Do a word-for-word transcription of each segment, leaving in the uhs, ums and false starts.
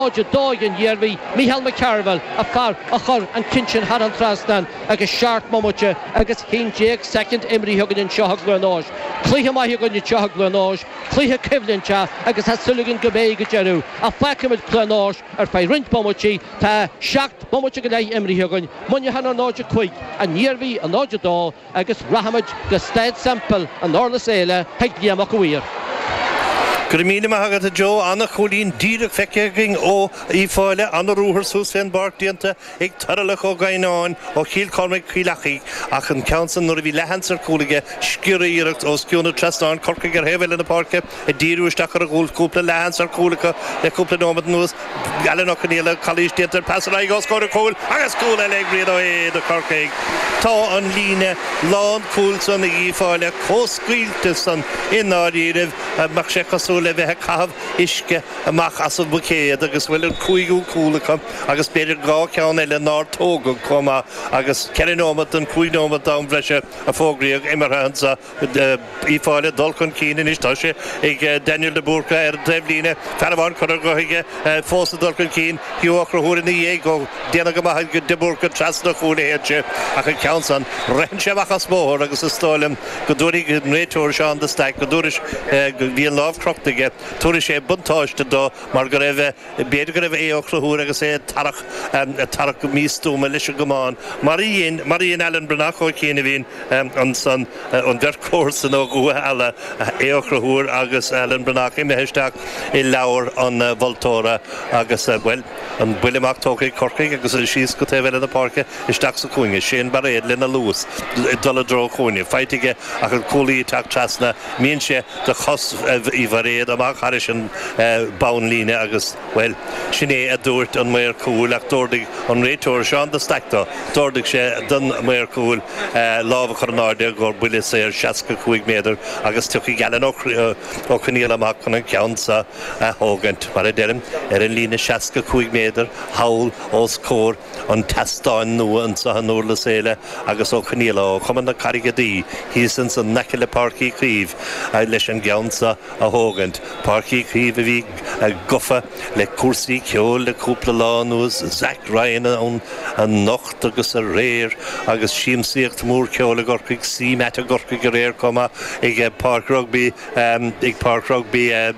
náid a dó ag an Iarmhí, Micheál McCarville, an fear a chuir an ceann sin thar an trasnán agus seacht mbomaite agus haon déag soicind imrithe againn anseo i gCluain Eois. Cluiche maith againn anseo i gCluain Eois, cluiche coimhlinte agus tá súil againn go mbeidh go deireadh. Ach fágfaimid Cluain Eois ar feadh roinnt bomaití, tá seacht mbomaite go leith imrithe againn, Muineachán ar náid a cúig, an Iarmhí ar náid a dó agus rachaimid go Staid Semple in Durlas Éile chuig Liam Mac a' Mhaoir. Go raibh míle maith agat a Joe, ana-chúilín díreach feicthe againn ó Uíbh Fhailí, ana-ruathar suas fén bpáirc déanta ag Toirealach Ó Gaighneáin ó Chill Chormaic Cill Achaidh ach an ceann san nuair a bhí leathsheans ar chúl aige scioriarracht os cionn an trasnáin, Corcaigh ar thaobh eile na páirce ag díriú isteach ar an gcúl, cúpla leathsheans ar chúl acu le cúpla nóiméad anuas, Alan Ó Conaola, calaois déanta ar pas ar aghaidh os comhair an chúil agus cúl eile ag Brian Ó hAodha do Chorcaigh. Tá an líne lán cúil san ag Uíbh Fhailí chomh scaoilte san i ndáiríribh. Bheadh sé cosúil le bheith ag caitheamh uisce amach as an mbuicéad agus bhuel an cúigiú cúl acu agus b'fhéidir dhá cheann eile nár tógadh chomh maith agus ceithre nóiméad den chúig nóiméad d'am bhreise a fógraíodh imeartha anseo. Uíbh Fhailí ag dul chun cinn anois. Tá sé ag Daniel de Búrca ar an taobhlíne. Fear amháin curtha dhe aige fós ag dul chun cinn. Hugh Ó Conchúir ina dhiaidh. Ó, déanta go maith ag de Búrca trasna an chúil a théann sé ach an ceann san, ritheann sé amach as bóthar agus is dóigh liom go dtabharfaidh an réiteoir Seán de Staic go dtabharfaidh go bhí an lámh crochta aige, tabharfaidh sé buntáiste dó mar go raibh, b'fhéidir go raibh Aodh Ó Conchúir agus é ag tarrac, ag tarrac go místuama leis an gcamán, mar a dhein, mar a dhein Alan Breathnach ó chianaibhín ansan, an bheirt chomharsan ó Dhumha Ealla, Aodh Ó Conchúir agus Alan Breathnach imithe isteach i leabhar an mholtóra agus, bhuel, an buille amach tógtha ag Corcaigh agus síos go taobh eile na páirce isteach sa chúinne, Shane Bairéad lena luas ag dul i dtreo an chúinne, faighte aige ach an cúlaí ag teacht trasna, imíonn sé de chos Uí Bhairéad amach thairis an bonnlíne agus, bhuel, sin é a dúirt an maor cúil ach d'ordaigh an réiteoir Seán de Staic dó, d'ordaigh sé don mhaor cúil lámh a chur in airde gur buille saor seasca cúig méadar agus tiocfaidh Alan Ó Conaola amach chun an ceann seo a thógaint, mar a deirim, ar an líne seasca cúig méadar thall os comhair an tseastáin nua anseo i nDurlas Éile agus Ó Conaola ó Chumann na Carraige Duí thíos ansan in aice le Páirc Uí Chaoimh leis an gceann seo a thógaint. Páirc Uí Chaoimh a bhí gofa le cúrsaí ceoil le cúpla lá anuas, Zach Ryan ann anocht agus aréir agus siamsaíocht mhór ceoil i gCorcaigh, CMAT i gCorcaigh aréir chomh maith ag Páirc Rugbaí ag Páirc Rugbaí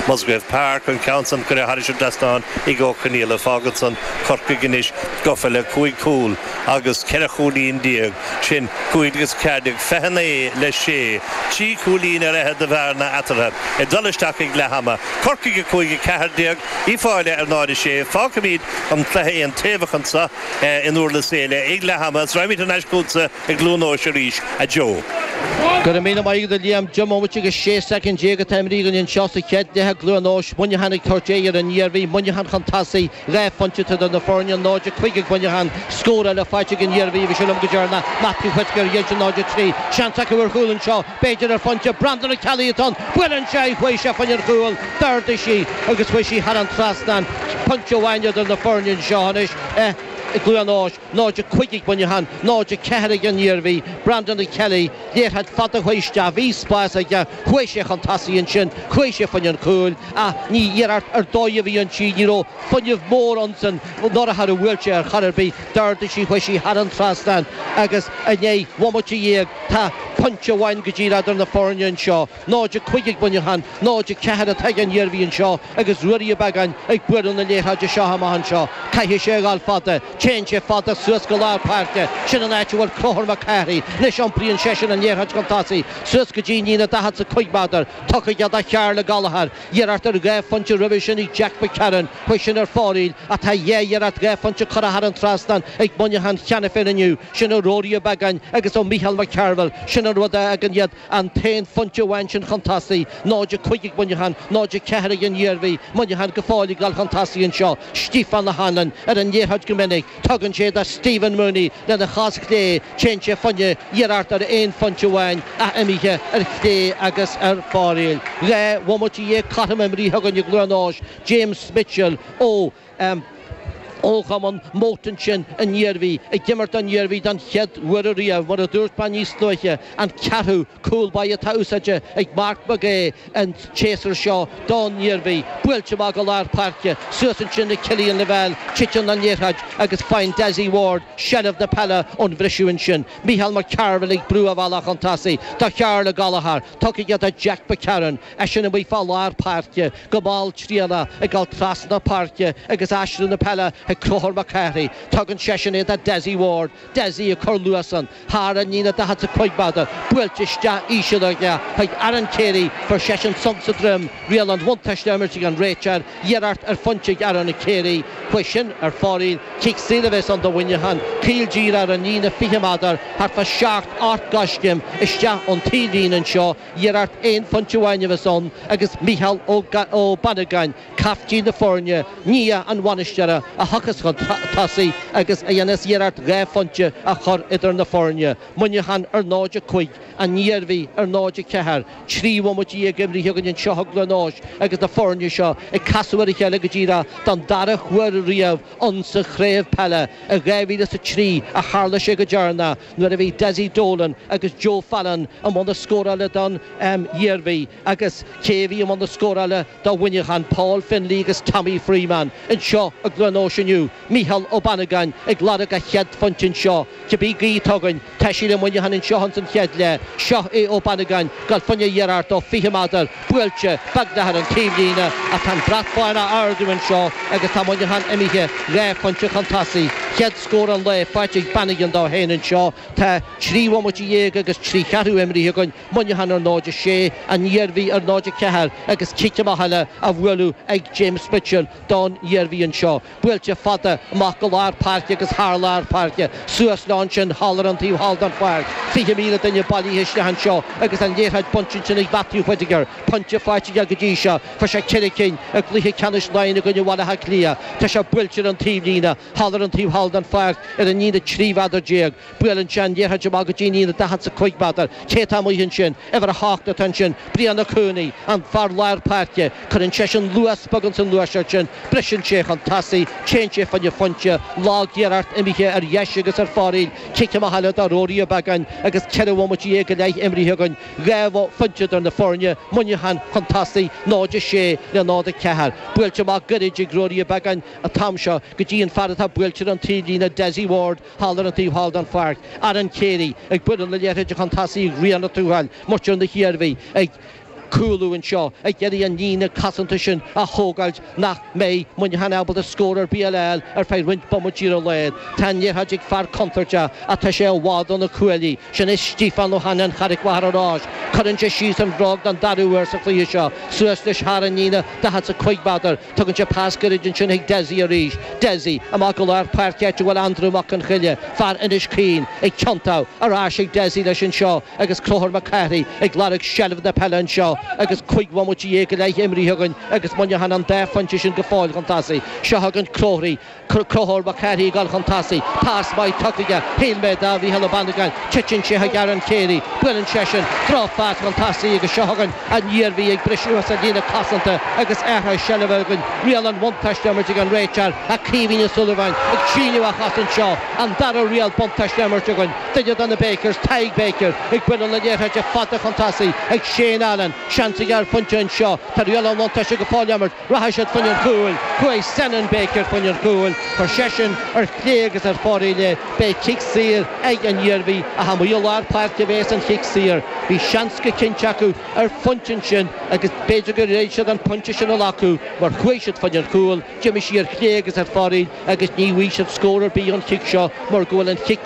Musgrave Park, an ceann san curtha thairis an dtrasnán ag Ó Conaola. Fágann san Corcaigh anois gofa le cúig chúl agus ceithre chúilín déag, sin cúig agus ceathair déag, fiche naoi le sé, trí chúilín ar fhichead de bhearna eatarthu ag dul isteach ag leath ama. Corcaigh a cúig a ceathair déag, Uíbh Fhailí ar náid a sé. Fágfaimid an cluiche aontaobhach anseo i nDurlas Éile ag leath ama is raghaimid thar n-ais chugatsa i gCluain Eois arís, a Joe. Go raibh míle maith agat a Liam. Deich mbomaite agus sé soicind déag atá imrithe againn anseo sa chéad leath i gCluain Eois. Muineachán ag tabhairt aghaidh ar an Iarmhí. Muineachán chun tosaigh. Dhá phointe atá idir na foirne, náid a cúig ag Muineachán. Scór eile faighte ag an Iarmhí, bhí sé liom go deireanach. Matthew Whitaker, dhein sé náid a trí. Seans acu ar chúl anseo, b'fhéidir ar phointe. Brandon Ó Ceallaigh atá ann. Buaileann sé í, chuaigh sé fá choinne an chúil. D'ardaigh sí agus chuaigh sí thar an trasnán. Pointe amháin idir na foirne anseo anois i gCluain Eois. náid a cúig ag Muineachán, náid a ceathair ag an Iarmhí. Brandon Ó Ceallaigh, liathróid fada a chuaigh isteach, bhí spás aige, chuaigh sé chun tosaigh ansin, chuaigh sé fá choinne an chúil ach ní iarracht ar dóigh a bhí inti, ní raibh fuinneamh mór ansin nuair a bhuail sé ar chor ar bith, d'ardaigh sí, chuaigh sí thar an trasnán agus i ndeich bhomaite dhéag tá pointe amháin go díreach idir na foirne anseo. náid a cúig ag Muineachán, náid a ceathair atá ag an Iarmhí anseo agus Ruairí Ó Beagáin ag bualadh na liathróide seo amach anseo. Caithfidh sé a ghabháil fada. Téann sé fada suas go lár páirce. Sin an áit a bhfuil Conchúr Mac Cárthaigh. Anois iompraíonn seisean an liathróid chun tosaigh suas go dtí an líne daichead is a cúig méadar. Tugtha aige do Charl Gallagher. Iarracht ar dhá phointe roimhe sin ag Jack McCarron. Chuaigh sin ar fóraoil ach tá dhá iarracht dhá phointe curtha thar an trasnán ag Muineachán cheana féin inniu. Sin ó Ruairí Ó Beagáin agus ó Mhícheál McCarville. Sin an rud a fhágann iad An t-aon phointe amháin sin chun tosaigh, náid a cúig ag Muineachán, náid a ceathair ag an Iarmhí. Muineachán go fóill ag dul chun tosaigh anseo. Stiofán O'Hanlon ar an liathróid go minic. Tugann sé do Stephen Mooney lena chos chlé. Téann sé fá choinne iarracht ar aon phointe amháin ach imithe ar chlé agus ar fóraoil. Dhá bhomaite dhéag cothrom imrithe againn i gCluain Eois. James Mitchell ó. Ó Chumann Moate ansin an Iarmhí ag imirt don Iarmhí don chéad uair riamh mar a dúirt mé níos luaithe an ceathrú cúl báire atá úsáidte ag Mark McGee an tséasúr seo don Iarmhí buailte amach go lár páirce suas ansin le Cillian Lavelle titeann an liathróid agus faigheann Dessie Ward seilbh na peile ón bhriseadh ansin Micheál McCarville ag brú a bhealach chun tosaigh do Charla Gallagher tugtha do Jack McCarron eisean amuigh fá lár páirce go malltriallach ag dul trasna páirce agus aistriú na peile ag Conchúr Mac Cárthaigh tugann seisean é do Dessie Ward Dessie ag cur luas ann thar an líne daichead is a cúig méadar buailte isteach íseal aige chuig Aaron Carey fuair seisean sonc sa droim riail an bhuntáiste á imirt ag an réiteoir iarracht ar phointe ag Aaron Carey chuaigh sin ar fóraoil cic saor a bheas ann do Mhuineachán caol díreach ar an líne fiche méadar thart fá seacht ocht gcoiscéim isteach ón taobhlíne anseo iarracht aon phointe amháin a bheas ann agus Micheál Ó Bannagáin caiftín na foirne nia an bhainisteora a thiocfas chun tosaigh agus a dhéanfas iarracht dhá phointe a chur idir na foirne. Muineachán ar náid a cúig an Iarmhí ar náid a ceathair, trí bhomaite déag imeartha againn anseo i gCluain Eois agus na foirne seo ag casadh ar a chéile go díreach don dara huair riamh insa chraobh peile i dhá mhíle is a trí a tharla sé go deireanach nuair a bhí Dessie Dolan agus Joe Fallon i mbun na scórála don Iarmhí agus cé a bhí i mbun na scórála do Mhuineachán, Paul Finlay agus Tommy Freeman anseo i gCluain Eois inniu. Micheál Ó Bannagáin ag lorg a chéad phointe anseo. Cibé gaoth atá againn, tá sí le Muineachán anseo ins an chéad leath. Seo é Ó Bannagáin ag dul fá choinne iarracht ó fiche méadar, buailte beagnach ar an taobhlíne ach tá an brat bán á ardú anseo agus tá Muineachán imithe dhá phointe chun tosaigh. Chéad scór an lae faighte ag Bannigan dó féin anseo. Tá trí bhomaite dhéag agus trí cheathrú imrithe againn, Muineachán ar náid a sé, an Iarmhí ar náid a ceathair agus cic amach eile á bhualadh ag James Mitchell don Iarmhí anseo. Buailte fada amach go lár páirce agus thar lár páirce, suas leo ansin thall ar an taobh thall den pháirc. Fiche míle duine bailithe isteach anseo agus an liathróid bainte ansin ag Matthew Whittaker. Pointe faighte aige go dtí seo. Fuair sé ceithre cinn i gcluiche ceannais Laighean i gcoinne Bhaile Átha Cliath. Tá sé buailte ar an taobhlíne, thall ar an taobh thall den pháirc ar an líne trí mhéadar déag. Buaileann sé an liathróid amach go dtí an líne daichead is a cúig méadar. Cé atá amuigh ansin? Uimhir a hocht atá ansin, Brian Ó Cuanaigh, an fear lár páirce. Cuireann seisean luas beag ins an ghluaiseacht sin, briseann sé chun tosaigh, téann sé fá choinne pointe, lag-iarracht imithe ar dheis agus ar fóraoil, cic amach eile do Ruairí Ó Beagáin agus ceithre bhomaite dhéag go leith imrithe againn, dhá phointe idir na foirne, Muineachán chun tosaigh, náid a sé le náid a ceathair. Buailte amach gairid ag Ruairí Ó Beagáin an t-am seo go dtí an fear atá buailte ar an taobhlíne, Dessie Ward, thall ar an taobh thall den pháirc. Aaron Carey ag bualadh na liathróide chun tosaigh ag Rian Ó Tuathail, muintir na hIarmhí ag cúlú anseo, ag iarraidh an líne cosanta sin a thógáilt nach mbeidh Muineachán ábalta scór ar bith a fháil ar feadh roinnt bomaití ar a laghad. Tá an liathróid ag fear contúirteach ach tá sé i bhfad ó na cuaillí. Sin é Stiofán Ó hAnnáin Charraig Mhachaire Rois. Cuireann sé síos an bhróg don dara huair sa chluiche seo. Suas leis thar an líne daichead is a cúig méadar. Tugann sé pas gairid ansin chuig Dessie arís. Dessie amach go lár páirce áit a bhfuil Andrew Mac Con Choille, fear Inis Caoin, ag tiontú ar ais ag Dessie leis anseo agus Conchúr Mac Cárthaigh ag lorg seilbh na peile anseo agus cúig bhomaite dhéag go leith imrithe againn agus Muineachán an dá phointe sin go fóill chun tosaigh. Seo chugainn Crothraí, Conchúr Mac Cárthaigh ag dul chun tosaigh. Pas maith tugtha aige, shíl mé do Mhícheál Ó Bannagáin. Titeann sé chuig Aaron Carey. Buaileann seisean drochphas chun tosaigh agus seo chugainn an Iarmhí ag briseadh as an líne cosanta agus athrú seilbhe againn. Riail an bhuntáiste á imirt ag an réiteoir ach Caoimhín Ó Súilleabháin ag síneadh a chos anseo. An dara riail buntáiste á imirt againn. Duine de na Bakers, Tadhg Baker, ag bualadh na liathróide fada chun tosaigh ag Shane Allen. Seans aige ar phointe anseo. Tá riail an bhuntáiste go fóill á imirt. Rachaidh siad fá choinne an chúil. Chuaigh Senan Baker fá choinne an chúil. Chuir seisean ar chlé agus ar fóraoil é. Beidh cic saor ag an Iarmhí ach amuigh i lár páirce a bheas an chic saor. Bhí seans go cinnte acu ar phointe ansin agus b'fhéidir gur fhéad siad an pointe sin a ghlacadh mar chuaigh siad fá choinne an chúil. D'imigh sí ar chlé agus ar fóraoil agus ní bhfaighidh siad scór ar bith ón chic seo mar go bhfuil an chic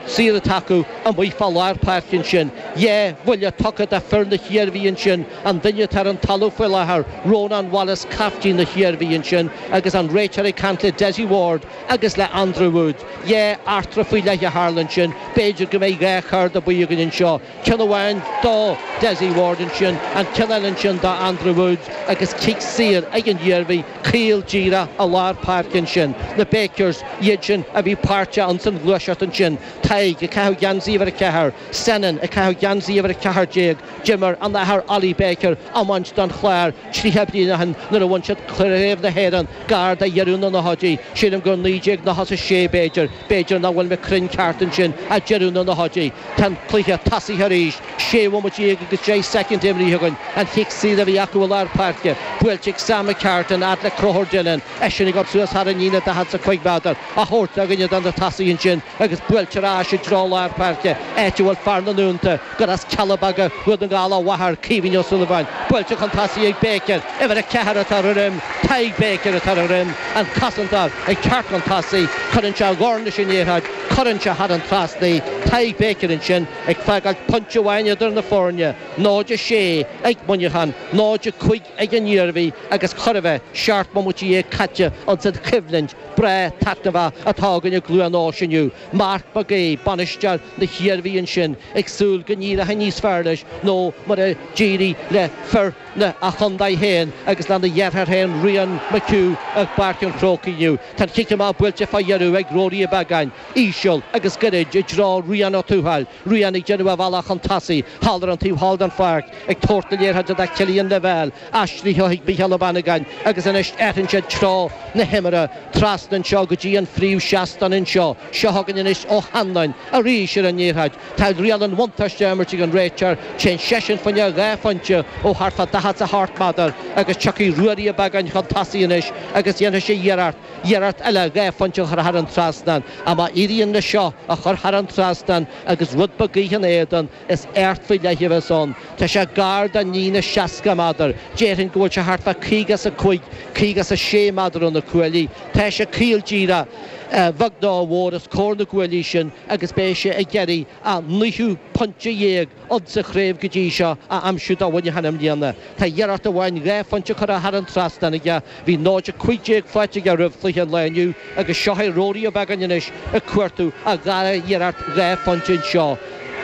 saor atá acu amuigh fá lár páirce ansin. Dhá bhuille tugtha do fir na hIarmhí ansin, an duine atá ar an talamh faoi láthair, Rónán Wallace, caiftín na hIarmhí ansin, agus an réiteoir ag caint le Dessie Ward agus le Andrew Wood. Dhá eachtra faoi leith a tharla ansin, b'fhéidir go mbeidh dhá chárta buí againn anseo, ceann amháin do Dessie Ward ansin, an ceann eile ansin do Andrew Wood, agus cic saor ag an Iarmhí, caol díreach i lár páirce ansin. Na Bakers, iad sin a bhí páirteach ins an ghluaiseacht ansin. Tadhg ag caitheamh geansaí uimhir a ceathair, Senan ag caitheamh geansaí uimhir a ceathair déag. D'imir an Athair Ollie Baker iomáint don Chlár tríocha bliain ó shin nuair a bhain siad Craobh na hÉireann gar do dheireadh na nóchaidí, sílim gur naoi déag nócha is a sé b'fhéidir, b'fhéidir nach bhfuil mé cruinn ceart ansin, ach deireadh na nóchaidí. Tá an cluiche tosaithe arís, sé bhomaite déag agus deich soicind imrithe againn. An chic saor a bhí acu i lár páirce, buailte ag Sam McCartan fhad le Conchúr Dillon, eisean ag dul suas thar an líne daichead is a cúig méadar, á thabhairt do dhuine de na tosaithe ansin agus buailte ar ais i dtreo lár páirce, áit a bhfuil fear na nDúnta, gur as Cealla Beaga, Dhún na nGall a mháthair, Caoimhín Ó Súilleabháin, buailte chun tosaigh ag Baker, uimhir a ceathair atá ar a dhroim, Tadhg Baker atá ar a dhroim, an cosantóir ag teacht chun tosaigh, cuireann sé a dhorn leis an liathróid, cuireann sé thar an trasnán í, Tadhg Baker ansin ag fágáil pointe amháin idir na foirne, náid a sé ag Muineachán, náid a cúig ag an Iarmhí agus chóir a bheith seacht mbomaite dhéag caite ins an choimhlint breá taitneamhach atá againn i gCluain Eois inniu. Marc Mac Aoidh, bainisteoir na hIarmhí ansin, ag súil go n-éireoidh níos fearr leis ná mar a d'éirigh le fir a chontae féin agus lena dheartháir féin Rian McHugh i bPáirc an Chrócaigh inniu. Tá an chic amach buailte fá dheireadh ag Ruairí Ó Beagáin, íseal agus gairid i dtreo Rian Ó Tuathail. Rian ag déanamh a bhealach chun tosaigh thall ar an taobh thall den pháirc, ag tabhairt na liathróide do Chillian Lavelle, aistrithe chuig Mícheál Ó Bannagáin agus anois athraíonn siad treo na himeartha trasna anseo go dtí an phríomhsheastán anseo. Seo chugainn anois Ó hAnluain arís ar an liathróid. Tá riail an bhuntáiste á imirt ag an réiteoir. Téann seisean fá choinne dhá phointe ó thart fá daichead is a hocht méadar agus tiocfaidh Ruairí Ó Beagáin chun tosaigh anois agus dhéanfaidh sé iarracht, iarracht eile dhá phointe a chur thar an trasnán. Ach má éiríonn leis seo a chur thar an trasnán agus rud beag gaoithe ina éadan, is éacht faoi leith a bheas ann. Tá sé gar don líne seasca méadar. Déarfainn go bhfuil sé thart fá caoga is a cúig, caoga is a sé méadar ó na cuaillí. Tá sé caol díreach, a bheag nó a mhór os comhair na gcuaillí sin agus beidh sé ag iarraidh a naoú pointe dhéag insa chraobh go dtí seo a aimsiú do Mhuineachán i mbliana. Tá iarracht amháin dhá phointe curtha thar an trasnán aige. Bhí náid a cúig déag faighte aige roimh chluiche an lae inniu agus seo é Ruairí Ó Beagáin anois ag cuartú a dhara hiarracht dhá phointe anseo.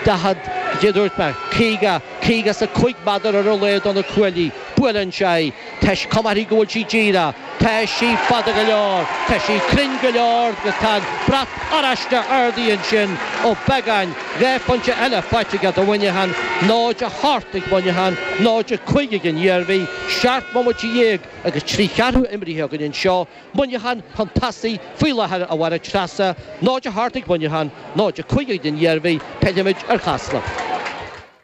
daichead, cad é dúirt mé, caoga, caoga is a cúig méadar ar a laghad ó na cuaillí. Buaileann sé í. Tá cuma uirthi go bhfuil sí díreach. Tá sí fada go leor. Tá sí cruinn go leor agus tá an brat oráiste ardaithe ansin. Ó Beagáin, dhá phointe eile faighte aige do Mhuineachán, náid a hocht ag Muineachán, náid a cúig ag an Iarmhí, seacht mbomaite dhéag agus trí cheathrú imrithe againn anseo. Muineachán chun tosaigh faoi láthair, a Mháire Treasa, náid a hocht ag Muineachán, náid a cúig ag an Iarmhí, pillfimid ar Chasla.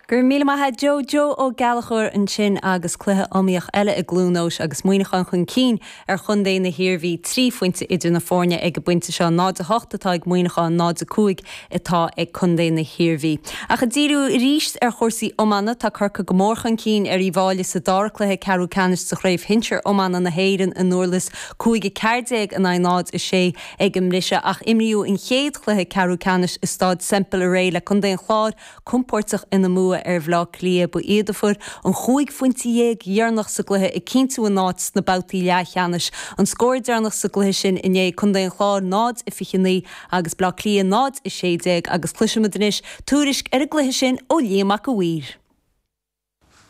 Go raibh míle maith agat Joe Joe Ó Gallchóir ansin agus cluiche iomaíoch eile i gCluain Eois agus Muineachán chun cinn ar chontae na hIarmhí trí phointe idir na foirne ag an bpointe seo náid a hocht atá ag Muineachán náid a cúig atá ag contae na hIarmhí. Ach ag díriú arís ar chúrsaí iomána tá Corcaigh go mór chun cinn ar Uíbh Fhailí sa dara cluiche ceathrú ceannais sa chraobh shinsir iomána na hÉireann i nDurlas cúig a ceathair déag in aghaidh náid a sé ag an mbriseadh ach imríodh an chéad chluiche ceathrú ceannais i Staid Semple aréir le Contae an Chláir compordach ina mbua ar Bhaile Átha Cliath ba iad a fuair an chúig phointe dhéag dheireanach sa gcluiche ag cinntiú a n-áit sna babhtaí leathcheannais. An scór deireanach sa gcluiche sin inné Contae an Chláir náid a fiche naoi agus Baile Átha Cliath náid a sé déag agus cloisfimid anois tuairisc ar an gcluiche sin ó Liam Mac a' Mhaoir.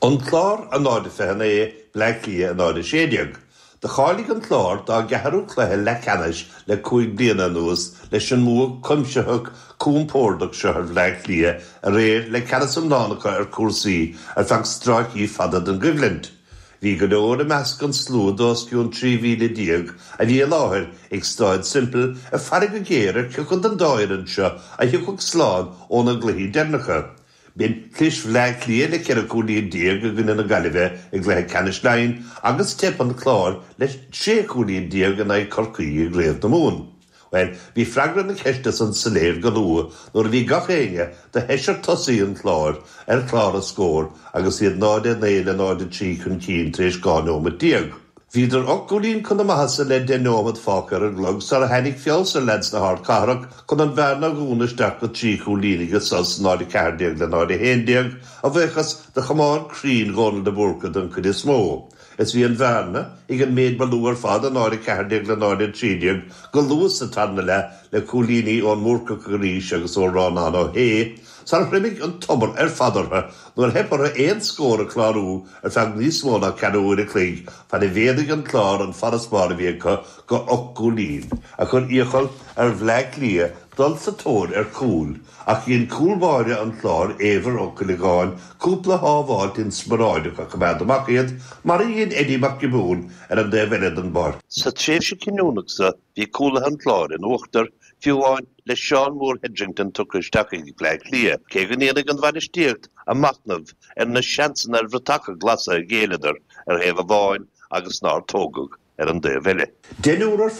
An Clár a náid a fiche naoi, Bleá Cliath a náid a sé déag. Do cháiligh an Clár dá gceathrú cluiche leathcheannais le cúig bliana anuas leis an mbua cuimsitheach compordach seo ar Bhleá Cliath aréir le ceannas iomlán acu ar chúrsaí ar feadh stráicí fada den gcoimhlint. Bhí go leor i measc an slua d'os cionn trí mhíle déag a bhí i láthair ag Staid Semple ag faire go géar ar cioca den dá fhoireann seo a thiocfadh slán óna gcluichí deireanacha. B'in clis Bhleá Cliath le ceithre chúilín déag i gcoinne na Gaillimhe i gcluiche ceannais Laighean agus teip an Chláir le sé chúilín déag in aghaidh Chorcaí i gCraobh na Mumhan. Bhuel, bhí freagra na ceiste san soiléir go luath nuair a bhí gach éinne de sheisear tosaí an Chláir ar chlár na scór agus iad náid a naoi le náid a trí chun cinn tar éis dhá nóiméad déag. Bhíodar ocht gcúilín chun na maitheasa le deich nóiméad fágtha ar an gclog sara tháinig feabhas ar leaids na hardchathrach chun an bhearna a dhúnadh isteach go trí chúilín ag an sos, náid a ceathair déag le náid a haon déag, a bhuíochas do chamán cruinn Dhónal de Búrca den chuid is mó. Is bhí an bhearna ag an méid ba lú ar fad, náid a ceathair déag le náid a trí déag, go luath sa tarna leath le cúilíní ón mBúrcach arís agus ó Rónán Ó hAodha. Sar thriomaigh an tobar ar fad orthu nuair theip orthu aon scór a chlárú ar feadh níos mó ná ceathrú uair a chloig fad a mhéadaigh an Clár an farasbarr a bhí acu go ocht gcúilín, a chuir iachall ar Bhleá Cliath dul sa tóir ar chúl, ach dhein cúl báire an Chláir, Éibhear Ó Cuileagáin, cúpla sábháilt inspioráideach a choimeád amach iad, mar a dhein Eddie Mac Giobúin ar an dtaobh eile den bpáirc. Sa tréimhse cinniúnach seo bhí cúlaithe an Chláir in uachtar, fiú amháin le Seán Mór Hetherington tugtha isteach ag Bleá Cliath, cé go ndéanfaidh an bhainistíocht a machnamh ar na seansanna ar bhratacha glasa a ghéilleadar ar thaobh amháin agus nár tógadh ar an dtaobh eile. Deichniúr ar